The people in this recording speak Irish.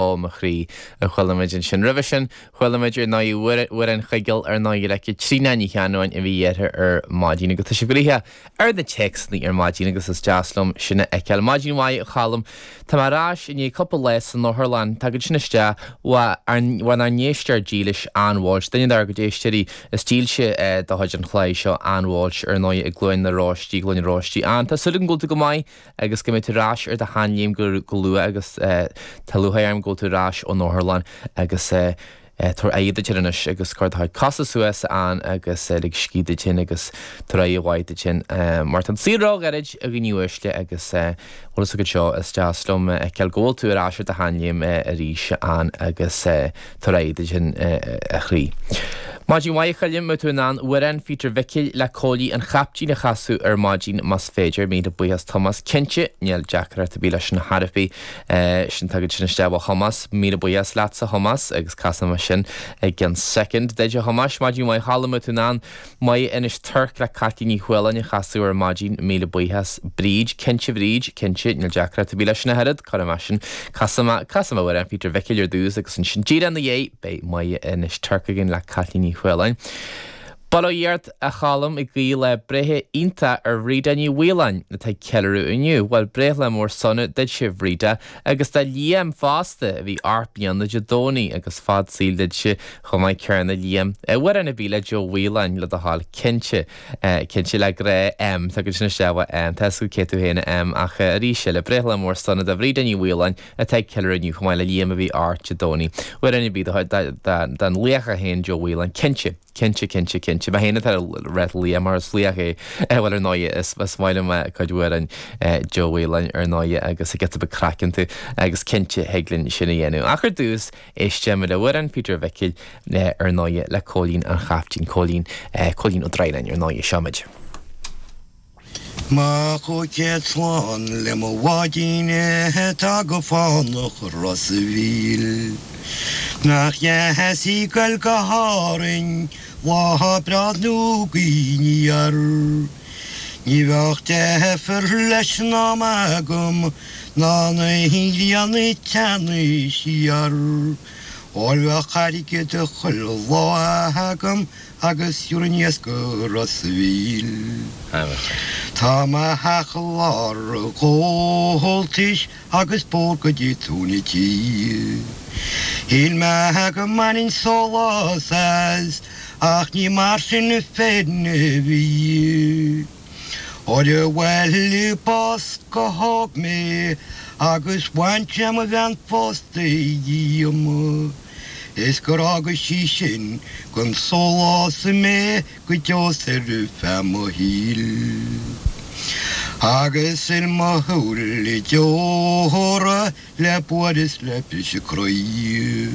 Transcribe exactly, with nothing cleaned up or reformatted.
Ó mo chroí a chuala muid ansin. Roimhe sin chuala muid ar ndóigh Amhrán Chuigéil ar ndóigh le Caitríona Ní Cheannabháin a bhí uirthi ar maidin agus tá sé gnoitheach ar na téacsanna ar maidin agus is deas liom sin a fheiceáil. Maidin mhaith a Cholm Tá mé ar ais i ndiaidh cúpla lá san otharlann Tá sin isteach bhain ár n-éisteoir dílis Ann Walsh, duine dár gcuid éisteoirí is dílse de chuid an chláir seo Ann Walsh ar ndóigh i gCluain na Róistí Cluain na Róistí. Ann Tá súil agam go bhfuil tú go maith agus go mbeidh tú ar ais ar do sheanléim go go luath agus tá lúcháir orm go bhfuil tú ar ais ón otharlann agus tabhair aghaidh duit anois agus cuir do chuid cosa suas ann agus lig scíth duit féin agus tabhair aghaidh mhaith duit féin mar tá an saol róghairid a dhaoine uaisle agus bhfuil fhios agat seo is deas liom fheiceáil go bhfuil tú ar ais ar do sheanléim arís ann agus tabhair aghaidh duit féin a chroí. Maidin mhaith Choilm tú in ann Amhrán Phíotair Mhicil le Cóilí an Chaiptín a chasadh ar maidin más féidir míle buíochas Tomás cinnte níl deacracht ar bith leis na harpaí sin tagad sin isteach ó Thomas míle buíochas leatsa Thomas agus casfaidh mé sin i gceann soicind duit a Thomáis maidin mhaith Choilm tú in ann Maigh Inis Tuirc le Caitlín Ní Chualáin a chasadh ar maidin míle buíochas Bríd cinnte Bríd cinnte níl deacracht ar bith leis na herad chu mar sin casfaidh mé Amhrán Phíotair Mhicil ar dtús agus ansin díreach ina dhiaidh beidh Maigh Inis Tuirc againn le Caitlín Ní Chualáin. Bail ó Dhia ort a Cholm ag guí lá breithe iontach ar Bhríde Ní Mhaoláin atá ag ceiliúradh inniu, Bhuel breithlá mór sona duitse Bhríde agus do Liam fosta a bhí ocht mbliana Dé Domhnaigh agus fad saoil duitse chomh maith céanna Liam. Amhrán ar bith le Joe Whelan le do thoil cinnte cinnte le grá M tá go sin isteach M Tá cé tú féin M ach arís le breithlá mór sona do Bhríde Ní Mhaoláin atá ag ceiliúradh inniu chomh maith le Liam a bhí ocht Dé Domhnaigh. Amhrán ar bith den laoch féin Joe Whelan cinnte. Cinnte cinnte cinnte Ba héana re lia mar is laoch é bhuel ar ndóigh is is maith liom cuid amhrán Joe Whelan ar ndóigh agus giota beag craic iontu agus cinnte thig linn sin a dhéanamh. Ach ar dtús éistfimid le Amhrán Phíotair Mhicil ar ndóigh le Cóilín an Chaiptín Cóilín Cóilín Ó Droighneáin ar ndóigh seo muid. Mo chúig chéad slán le mo bháidín atá go fánach Ros a' Mhíl. Nach dheas í goil go hÁrainn lá breá nó gaoth aniar. Ní bheadh deifir leis an am agam ná na ghrian ag teannadh siar. Óir bheadh airgead chuile lá agam agus thiúrfainn iasc go Ros a' Mhíl. Tá mo theach i lár an Ghabháltais agus bóthar go dtí tóin an tí. Shíl mé go mbainfinn sólás as ach ní mar sin féin a bhí. Óir bhuail bás go hóg mé agus bhain sé mo bhean phósta dhíom. Is gur fhága sí sin gan sólás mé go deo 's ar feadh mo shaoil. Agus fhuil mo shúile deora le buaireamh 's le briseadh croí.